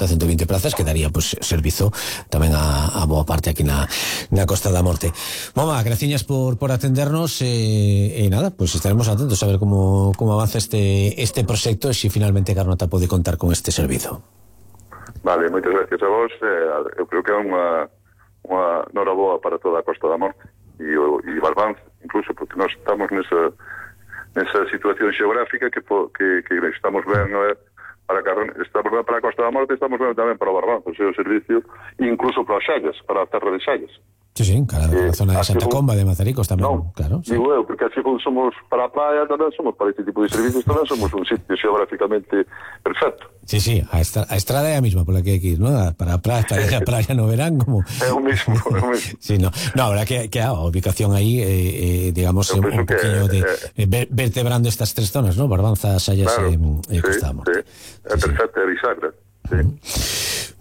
120 plazas que daría pois servizo tamén a boa parte aquí na Costa da Morte. Moma, graciñas por atendernos e nada, pois estaremos atentos a ver como avanza este proxecto e se finalmente Carnota pode contar con este servizo. Vale, moitas gracias a vos. Eu creo que é unha nora boa para toda a Costa da Morte e Barbanz, incluso porque nós estamos nesa situación xeográfica que estamos ben estamos ben para a Costa da Morte, estamos ben tamén para o Barbanz, o seu servicio, incluso para as Xallas, para a terra de Xallas. Sí, claro, a zona de Santa Comba, de Mazaricos tamén, claro. Sí. Digo eu, porque así somos para a praia tamén, somos para este tipo de servicios tamén, somos un sitio xeográficamente perfecto. Sí, a estrada é a mesma pola que hai que ir, ¿no? Para a praia no verán, como... É o mismo. Sí, no, a verdad que a ubicación aí, digamos, un poquinho de vertebrando estas tres zonas, ¿no? Barbanza, Xallas e Costa da Morte. Sí, é perfecto, é bisagra.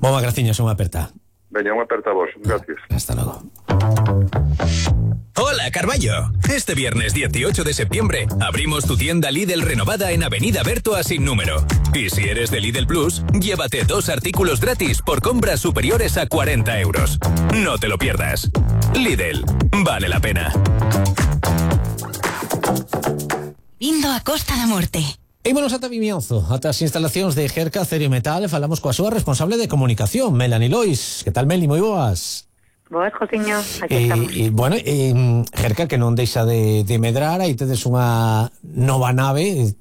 Moma, graciñas, unha aperta. Veña, unha aperta a vos, gracias. Hasta logo. Hola, Carballo. Este viernes 18 de septiembre abrimos tu tienda Lidl renovada en Avenida Bertoa sin número. Y si eres de Lidl Plus, llévate 2 artículos gratis por compras superiores a 40 euros. No te lo pierdas. Lidl, vale la pena. Vindo a Costa da Morte. Ímonos ata Vimianzo, ata as instalacións de Gerca Acero e Metal, e falamos coa súa responsable de comunicación, Melanie Lois. Que tal, Meli? Moi boas. Boas, Josiño, aquí estamos. Bueno, Gerca, que non deixa de medrar, aí tedes unha nova nave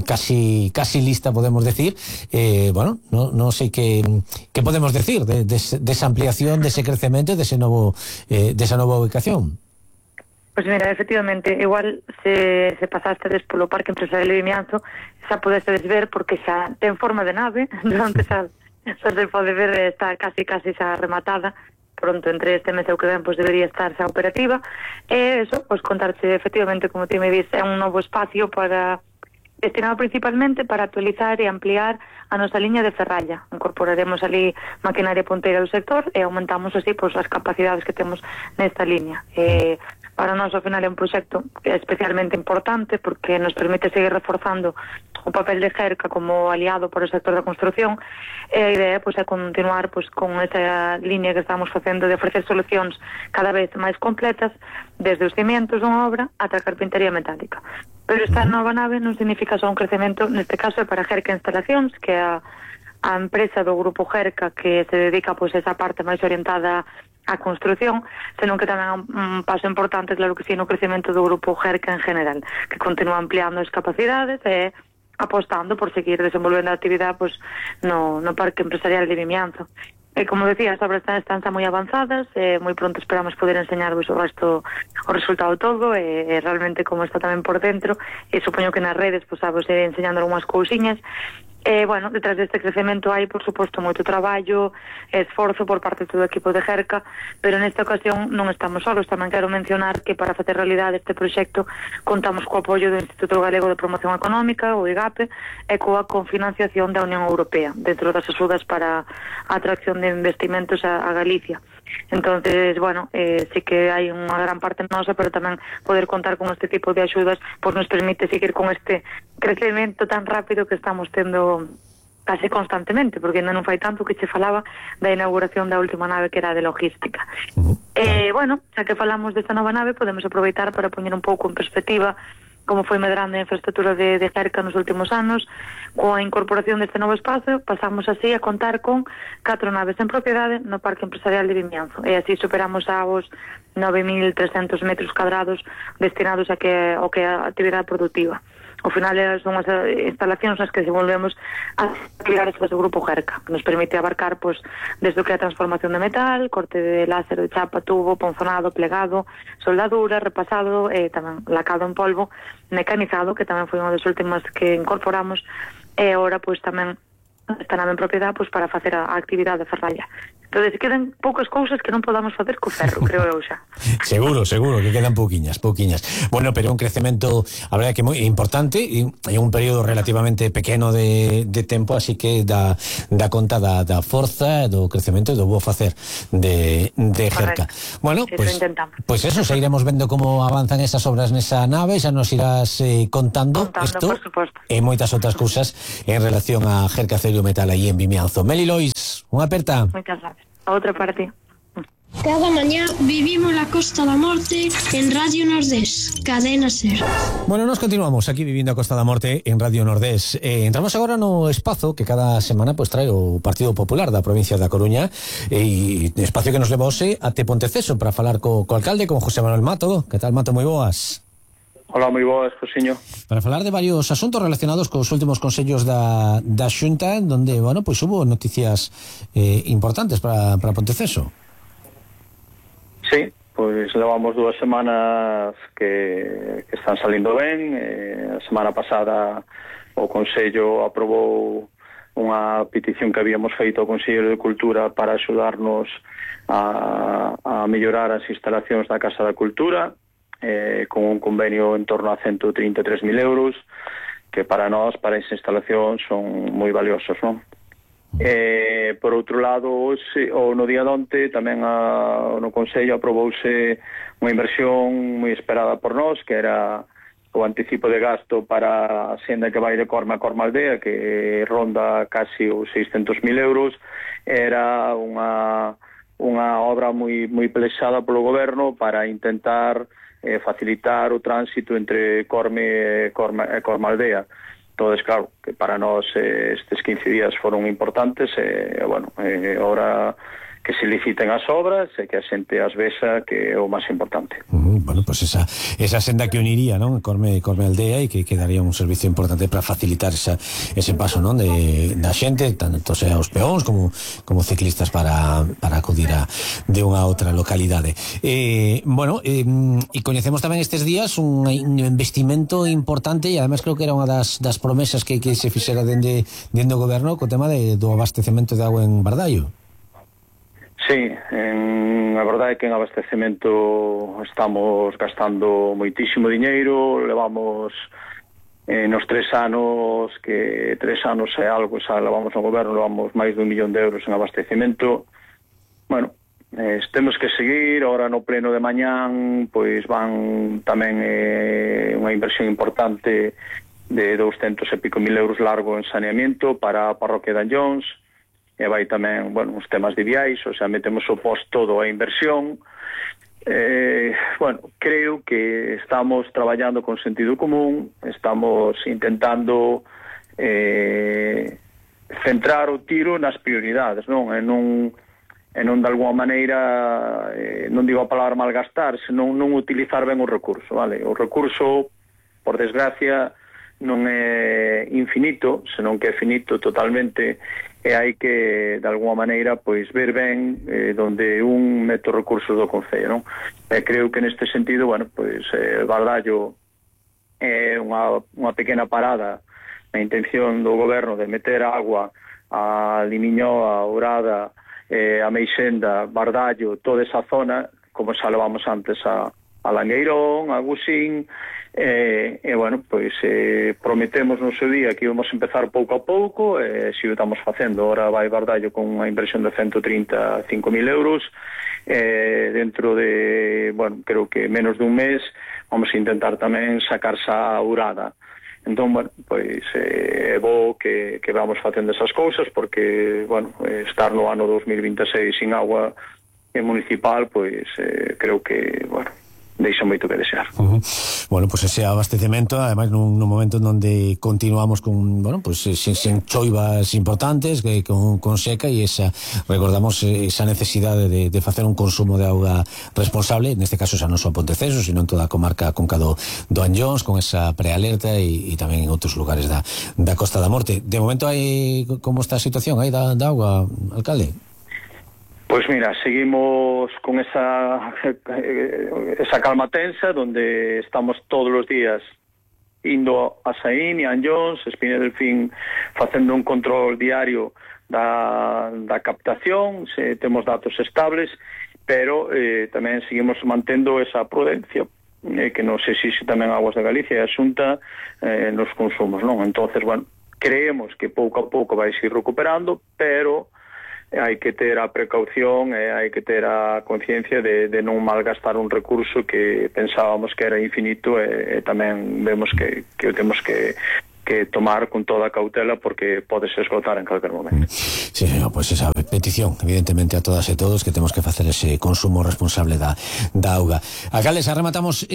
casi lista, podemos decir. Bueno, non sei que podemos decir desa ampliación, dese crecemento, desa nova ubicación. Pois mira, efectivamente, igual se pasastedes polo Parque Empresarial de Vimianzo, xa podestedes ver, porque xa ten forma de nave, onde xa se pode ver, está casi xa rematada. Pronto, entre este mes e o que ven, pois debería estar xa operativa. E eso, pois contarche, efectivamente, como ti me dis, é un novo espacio destinado principalmente para actualizar e ampliar a nosa liña de ferralla. Incorporaremos ali maquinaria punteira do sector e aumentamos así pois as capacidades que temos nesta liña. Para nós, ao final, é un proxecto especialmente importante porque nos permite seguir reforzando o papel de Gerca como aliado para o sector da construción, e a idea pois, é continuar pois, con esa liña que estamos facendo de ofrecer solucións cada vez máis completas, desde os cimientos dunha obra ata a carpintería metálica. Pero esta nova nave non significa só un crecemento, neste caso é para Gerca Instalacións, que é a empresa do grupo Gerca que se dedica pois, a esa parte máis orientada a construción, senón que tamén é un paso importante, claro que sí, no crecemento do grupo Gerca en general, que continúa ampliando as capacidades e apostando por seguir desenvolvendo a actividade pois, no Parque Empresarial de Vimianzo. E como decía, as obras están moi avanzadas e moi pronto esperamos poder enseñarvos o resultado todo e realmente como está tamén por dentro, e supoño que nas redes pois, vos iré enseñando algunhas cousiñas. Bueno, detrás deste crecemento hai, por suposto, moito traballo e esforzo por parte de todo o equipo de Gerca, pero nesta ocasión non estamos solos. Tamén quero mencionar que para facer realidade este proxecto contamos co apoio do Instituto Galego de Promoción Económica, o IGAPE, e coa confinanciación da Unión Europea, dentro das axudas para a atracción de investimentos a Galicia. Entonces, bueno, sí que hai unha gran parte nosa, pero tamén poder contar con este tipo de axudas pois nos permite seguir con este crecemento tan rápido que estamos tendo case constantemente, porque ainda non fai tanto que che falaba da inauguración da última nave que era de logística. Bueno, xa que falamos desta nova nave, podemos aproveitar para poñer un pouco en perspectiva como foi medrando a infraestructura de Gerca nos últimos anos. Coa incorporación deste novo espacio, pasamos así a contar con 4 naves en propiedade no Parque Empresarial de Vimianzo, e así superamos aos 9.300 metros cadrados destinados ao que é a actividade productiva. Ao final son as instalacións nas que desenvolvemos as actividades do grupo Gerca, que nos permite abarcar pois, desde o que é a transformación de metal, corte de láser, de chapa, tubo, ponzonado, plegado, soldadura, repasado, e tamén lacado en polvo, mecanizado, que tamén foi unha das últimas que incorporamos, e agora pois tamén esta nave en propiedade pois, para facer a actividade de ferralla. Entón, quedan poucas cousas que non podamos facer co ferro, creo eu xa. Seguro que quedan pouquiñas. Bueno, pero un crecemento, a verdade que moi importante e un período relativamente pequeno de tempo, así que dá conta da forza, do crecemento e do bo facer de Gerca. Bueno, pues eso, xa iremos vendo como avanzan esas obras nesa nave, xa nos irás contando isto e moitas outras cousas en relación a Gerca Acero Metal aí en Vimianzo. Meli Lois, unha aperta. Moitas gracias. A outra parte. Cada mañá vivimos la Costa da Morte en Radio Nordés, Cadena Ser. Bueno, nos continuamos aquí vivindo a Costa da Morte en Radio Nordés. Entramos agora no espazo que cada semana pues trae o Partido Popular da provincia da Coruña, e espacio que nos leva hoxe até Ponteceso para falar co alcalde, con José Manuel Mato. Que tal, Mato? Moi boas. Hola, moi boas, Josiño. Para falar de varios asuntos relacionados cos últimos consellos da Xunta, donde, bueno, pues hubo noticias importantes para Ponteceso. Sí, pois levamos 2 semanas que están salindo ben. A semana pasada o Consello aprobou unha petición que habíamos feito ao Consello de Cultura para axudarnos a mellorar as instalacións da Casa da Cultura, con un convenio en torno a 133.000 euros, que para nós, para esa instalación, son moi valiosos, non? Por outro lado, no día de onte tamén no Consello aprobouse unha inversión moi esperada por nós, que era o anticipo de gasto para a senda que vai de Corme a Cormaldea, que ronda casi os 600.000 euros. Era unha obra moi plexada polo goberno para intentar facilitar o tránsito entre Corme e Cormaldea. Entonces, claro, que para nós estes 15 días foron importantes, ahora que se liciten as obras e que a xente as vexa, que é o máis importante. Bueno, pues esa senda que uniría, non, Corme Aldea, e que daría un servicio importante para facilitar ese paso, non, da xente, tanto sea os peóns como ciclistas para acudir de unha outra localidade. Bueno, e coñecemos tamén estes días un investimento importante, e además creo que era unha das promesas que se fixera dende o goberno co tema do abastecemento de agua en Bardallo. Sí, a verdade é que en abastecemento estamos gastando moitísimo diñeiro. Levamos nos 3 anos, que 3 anos é algo, xa levamos no goberno, levamos máis de 1 millón de euros en abastecemento. Bueno, temos que seguir. Ahora no pleno de mañán pois van tamén unha inversión importante de 200 e pico mil euros largo en saneamiento para a parroquia de Anllóns. E vai tamén, bueno, os temas de viais, o sea, metemos o post todo a inversión. Creo que estamos traballando con sentido común, estamos intentando centrar o tiro nas prioridades, non? E non de alguma maneira, non digo a palabra malgastar, senón non utilizar ben o recurso, vale? O recurso, por desgracia, non é infinito, senón que é finito totalmente, e hai que, de alguma maneira, pois ver ben donde un mete os recursos do Concello, non? E creo que neste sentido, bueno, pois Bardallo é unha pequena parada na intención do goberno de meter agua a Limiñoa, a Ourada, a Meixenda, Bardallo, toda esa zona, como xa levamos antes a Langueirón, a Gusín. Bueno, pois prometemos no seu día que íbamos a empezar pouco a pouco, e si o estamos facendo. Ahora vai Bardallo con unha inversión de 135.000 euros, dentro de, bueno, creo que menos de un mes vamos a intentar tamén sacarse a Ourada. Entón, bueno, pois é bo que vamos facendo esas cousas, porque, bueno, estar no ano 2026 sin agua municipal, pois creo que, bueno, deixa moito que desear. Bueno, pues ese abastecemento, además nun momento onde continuamos con, bueno, pues sin choivas importantes, con seca, e recordamos esa necesidade de facer un consumo de auga responsable, neste caso xa non só Ponteceso, sino en toda a comarca conca do Anllóns, con esa prealerta, e tamén en outros lugares da Costa da Morte. De momento, como está a situación aí da auga, alcalde? Pois mira, seguimos con esa calma tensa, donde estamos todos os días indo a Saín e a Anllóns, Espina Delfín, facendo un control diario da da captación, temos datos estables, pero tamén seguimos mantendo esa prudencia que nos exixe tamén Aguas de Galicia e a Xunta nos consumos, non? Entonces, bueno, creemos que pouco a pouco vai ir recuperando, pero hai que ter a precaución e hai que ter a conciencia de non malgastar un recurso que pensábamos que era infinito e tamén vemos que o temos que tomar con toda a cautela porque podes esgotar en calquer momento. Sí, pois esa petición, evidentemente, a todas e todos que temos que facer ese consumo responsable da auga. Alcalde, xa rematamos,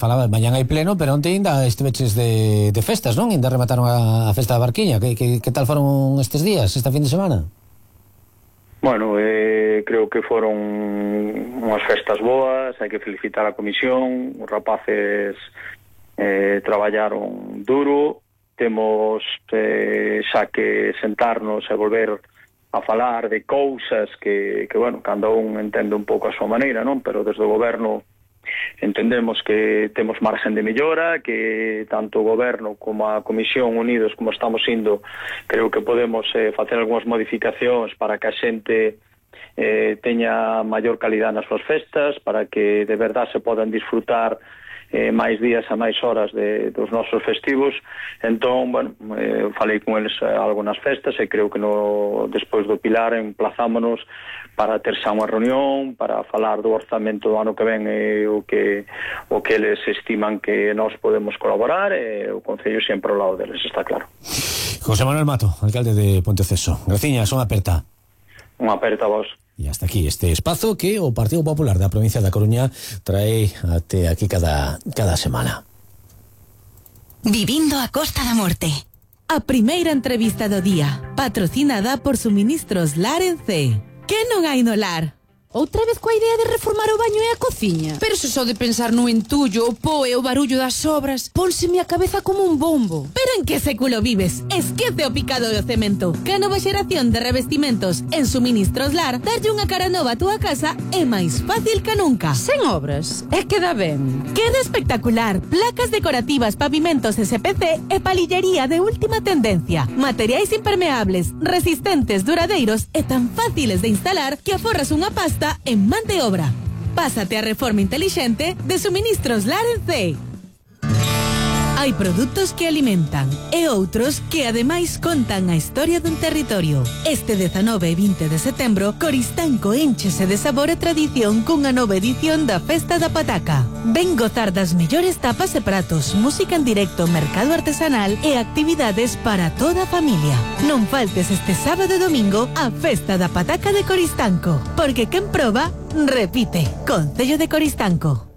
falaba, mañán hai pleno, pero onte ainda esteveches de festas, non? Ainda remataron a festa da Barquiña. Que tal foron estes días, esta fin de semana? Bueno, creo que foron unhas festas boas, hai que felicitar a comisión, os rapaces traballaron duro, temos xa que sentarnos e volver a falar de cousas que bueno, cada un entende un pouco a súa maneira, non? Pero desde o goberno entendemos que temos marxen de mellora, que tanto o goberno como a comisión unidos como estamos indo, creo que podemos facer algunhas modificacións para que a xente teña maior calidad nas súas festas, para que de verdade se podan disfrutar máis días a máis horas dos nosos festivos. Entón, bueno, falei con eles algo nas festas e creo que despois do Pilar emplazámonos para ter xa unha reunión para falar do orzamento do ano que ven e o que eles estiman que nós podemos colaborar e o Concello sempre ao lado deles, está claro. José Manuel Mato, alcalde de Ponteceso. Graciñas, unha aperta. Unha aperta a vos. E hasta aquí este espazo que o Partido Popular da provincia da Coruña trae até aquí cada semana. Vivindo a Costa da Morte. A primeira entrevista do día, patrocinada por Suministros Lar en C. Que non hai no lar? Outra vez coa idea de reformar o baño e a cociña? Pero se só de pensar no entullo, o po e o barullo das obras, pónseme a cabeza como un bombo. Pero en que século vives? Esquece o picado do cemento. Que a nova xeración de revestimentos en Suministros Lar darlle unha cara nova a túa casa é máis fácil que nunca. Sen obras, é que dá ben. Queda espectacular. Placas decorativas, pavimentos SPC e palillería de última tendencia. Materiais impermeables, resistentes, duradeiros e tan fáciles de instalar que aforras unha pasta en man de obra. Pásate a reforma inteligente de Suministros Lar en C. Hai produtos que alimentan e outros que ademais contan a historia dun territorio. Este 19 e 20 de setembro, Coristanco énchese de sabor e tradición cunha nova edición da Festa da Pataca. Ven gozar das mellores tapas e pratos, música en directo, mercado artesanal e actividades para toda a familia. Non faltes este sábado e domingo a Festa da Pataca de Coristanco, porque quen proba, repite. Concello de Coristanco.